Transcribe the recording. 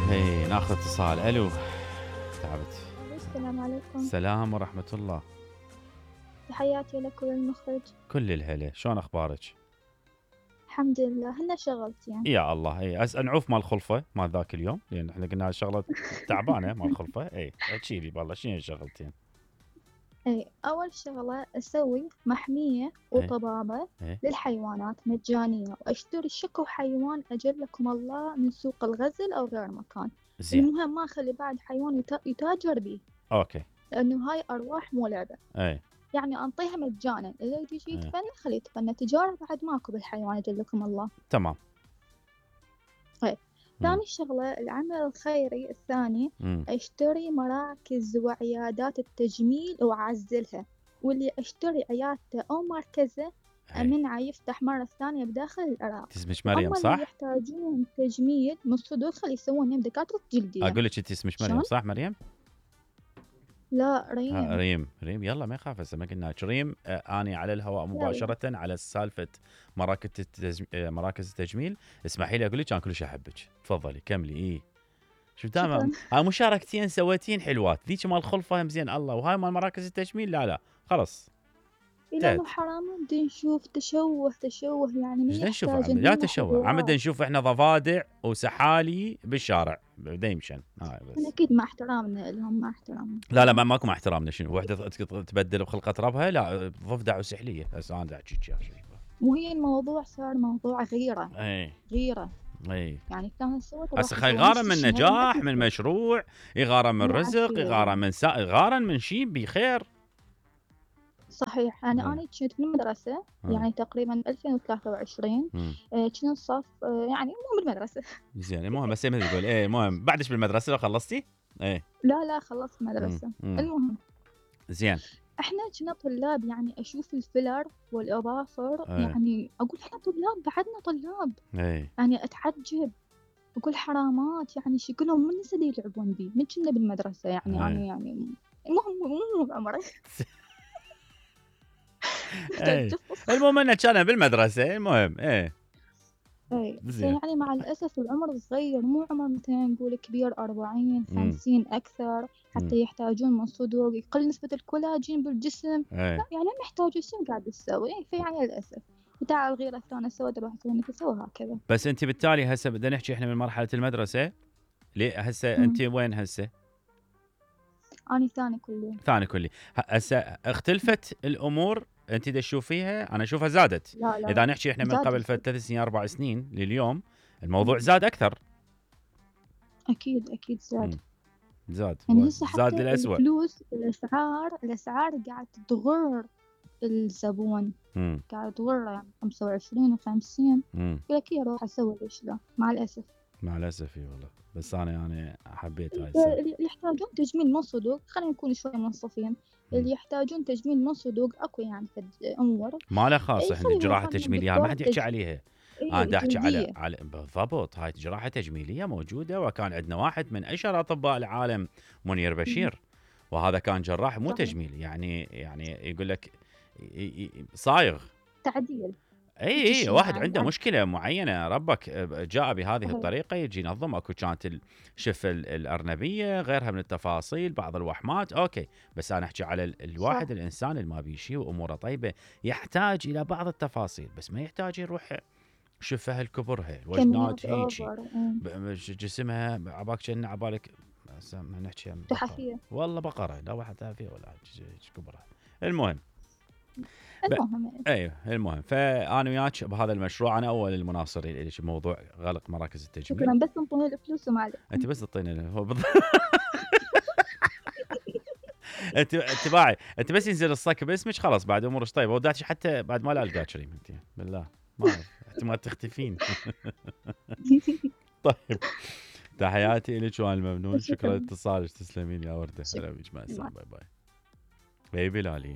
هي ناخذ اتصال. الو تعبت. السلام عليكم. السلام ورحمة الله. تحياتي لك وللمخرج. كل الهلا، شلون اخبارك؟ الحمد لله. هنا شغلتين يعني. يا الله. اي نعوف مال الخلفة مال ذاك اليوم، لان احنا قلنا شغلة تعبانة مال الخلفة. اي احكي لي والله شنو الشغلتين؟ اي اول شغلة اسوي محمية وطبابة للحيوانات مجانية، واشتري شكو حيوان اجلكم الله من سوق الغزل او غير مكان. زين. المهم ما اخلي بعد حيوان يتاجر به. اوكي. لانه هاي ارواح مو لعبة. اي يعني انطيها مجانا، اللي يجي يتفنى خليه يتفنى، تجارة بعد ماكو بالحيوان اجلكم الله. تمام. ثاني شغلة العمل الخيري الثاني، اشتري مراكز وعيادات التجميل واعزلها، واللي اشتري عيادته او مركزه امنعه يفتح مرة ثانية بداخل العراق. اسمك مريم صح؟ اللي يحتاجون تجميل من الصدور خلي يسوون دكاترة جلدية. اقول لك انت اسمك مريم صح مريم؟ لا ريم. ريم يلا ما يخاف. هسه ما قلنا ريم. اني على الهواء مباشره على سالفه مراكز التجميل. اسمحي لي اقول لك انا كلش احبك. تفضلي كملي. شوف دائما مشاركتين سويتين حلوات. ذيك مال الخلفه هم زين الله، وهاي مال مراكز التجميل لا خلص. لا حرام. بدي نشوف تشوه يعني. ايش نشوف؟ لا تشوه عم بدنا نشوف احنا ضفادع وسحالي بالشارع بدا يمشن. اكيد مع احترامنا لهم، مع احترامنا. لا ماكو مع احترامنا. شنو وحده تبدل بخلقه ربها؟ لا ضفدع وسحليه. بس انا احكيك يا شيخ. وهي الموضوع صار موضوع غيره. غيره. يعني كان سوت هسه يغارن من نجاح من مشروع، يغارن من رزق، يغارن من يغارن من شيء بخير. صحيح. أنا كنت بالمدرسة يعني تقريبا 2023. كنت صف يعني مو بالمدرسة. زين المهم بس ما تقول المهم بعدش بالمدرسة لو خلصتي؟ لا خلصت مدرسة. المهم زين. احنا كنا طلاب، يعني اشوف الفيلر والاظافر. يعني اقول احنا طلاب، بعدنا طلاب. يعني اتعجب اقول حرامات، يعني شكلهم من نسدي يلعبون بي من كنا بالمدرسة يعني. المهم مو بعمري. المهم انه كان بالمدرسه. المهم يعني مع الاسف العمر صغير، مو عمر مثلا نقول كبير 40 50 اكثر حتى يحتاجون من صدور، يقل نسبه الكولاجين بالجسم. لا يعني محتاج شنو قاعد تسوي. فيعني للاسف وتعال الغيره الثانيه سوت راح تسوي هكذا. بس انت بالتالي هسه بدنا نحكي احنا من مرحله المدرسه. ليه هسه انت وين هسه؟ أنا ثاني كلي. هسه اختلفت الامور انت تشوفيها؟ انا اشوفها زادت. لا. اذا نحكي احنا من قبل 3 سنين 4 سنين لليوم الموضوع زاد اكثر. اكيد زاد. يعني زاد للأسوأ. الفلوس الاسعار قاعد تغر الزبون. قاعد تغر يعني 25 و50. يقول لك روح اسوي ليش لا. مع الاسف اي والله. بس انا يعني حبيت هاي اللي يحتاجون تجميل من صدوق. خلينا نكون شوي منصفين. اللي يحتاجون تجميل من صدوق اكو يعني امور ما له خاص. احنا الجراحه التجميليه ما حد يحكي عليها. انا احكي على بالضبط. هاي جراحه تجميليه موجوده، وكان عندنا واحد من اشهر اطباء العالم منير بشير، وهذا كان جراح مو تجميلي. يعني يقول لك صايغ تعديل. اي واحد عنده مشكله معينه ربك جاء بهذه الطريقه يجي ينظم. اكو كانت الشفه الارنبيه غيرها من التفاصيل، بعض الوحمات اوكي. بس انا احكي على الواحد الانسان اللي ما بيشي واموره طيبه يحتاج الى بعض التفاصيل، بس ما يحتاج يروح شفها الكبرها الوجنات هيجي جسمها عباك كأنه عبالك ما نحكي تحفيه والله بقره. لا واحد تحفيه ولا كبرها. المهم ايوه المهم فانا وياك بهذا المشروع. انا اول المناصرين لك بموضوع غلق مراكز التجميل. شكرا. بس انطوني الفلوس وما عليك. انت بس تعطيني هو انت باعي. انت بس ينزل الصك باسمك خلاص بعد امورك طيبه. وداتش حتى بعد ما لا القاك كريم انت بالله ما احتمال تختفين. طيب تحياتي لك وانا الممنون. شكرا لاتصالك. تسلمين يا ورده. هلا بك. مع السلامه. باي باي بيبي لالي.